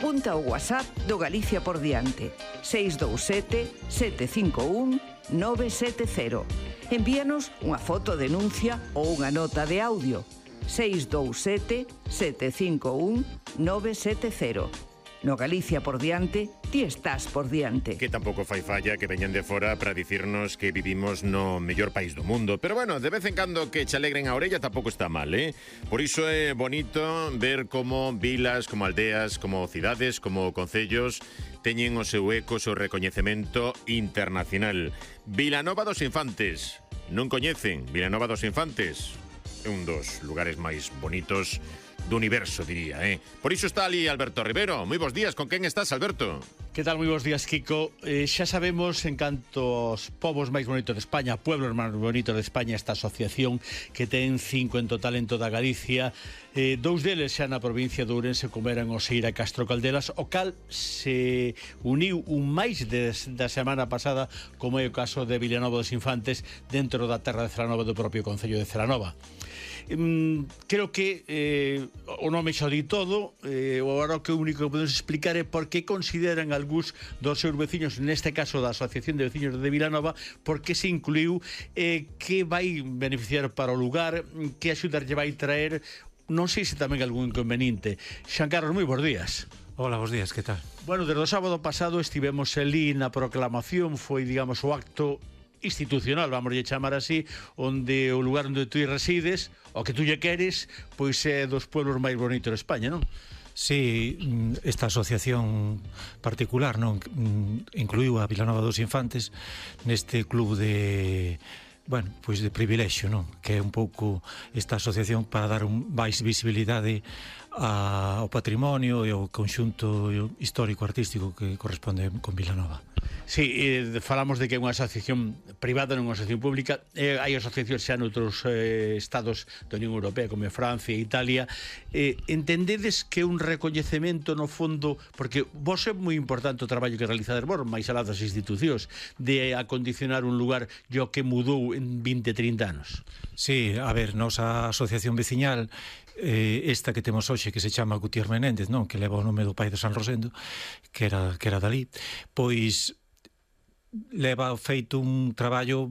Apunta o WhatsApp do Galicia por diante: 627 751 970. Envíanos unha foto denuncia ou unha nota de audio: 627 751 970. No Galicia por diante, ti estás por diante. Que tampouco fai falla que veñan de fora para dicirnos que vivimos no mellor país do mundo. Pero bueno, de vez en cando que che alegren a orella tampouco está mal, eh? Por iso é bonito ver como vilas, como aldeas, como cidades, como concellos teñen o seu eco, o seu recoñecemento internacional. Vilanova dos Infantes. Non coñecen Vilanova dos Infantes? É un dos lugares máis bonitos do universo, diría, eh? Por iso está ali Alberto Rivero. Moi bons días, con quen estás, Alberto? Que tal? Moi bons días, Kiko. Xa sabemos en canto aos povos máis bonitos de España, pueblos máis bonitos de España, esta asociación que ten 5 en total en toda Galicia. Dous deles xa na provincia de Ourense, como eran Oseira e Castro Caldelas, o cal se uniu un máis da semana pasada, como é o caso de Vilanova dos Infantes, dentro da terra de Celanova, do propio concello de Celanova. Creo que o nome xa di todo. Agora o que único que podemos explicar é por que consideran algúns dos seus veciños, neste caso da Asociación de Veciños de Vilanova, por que se incluiu, que vai beneficiar para o lugar, que axudar lle vai traer, non sei se tamén algún inconveniente. Xan Carlos, moi bons días. Hola, bons días, que tal? Bueno, desde o sábado pasado estivemos ali na proclamación, foi, digamos, o acto institucional, vamos a chamar así, onde o lugar onde tú resides, o que tú lle queres, pois é dos pueblos máis bonitos de España, non? Sí, esta asociación particular, non, incluiu a Vilanova dos Infantes neste club de, bueno, pois de privilexio, non? Que é un pouco esta asociación para dar máis visibilidade ao patrimonio e ao conxunto histórico-artístico que corresponde con Vilanova. Sí, falamos de que é unha asociación privada, non unha asociación pública. Hai asociacións xa noutros estados da Unión Europea, como Francia e Italia. Entendedes que é un recoñecemento no fondo, porque vos é moi importante o traballo que realizades vos, máis alá das institucións, de acondicionar un lugar o que mudou en 20-30 anos. Sí, a ver, nosa asociación veciñal, esta que temos hoxe, que se chama Gutiérrez Menéndez, non, que leva o nome do pai de San Rosendo, que era dali, pois leva feito un traballo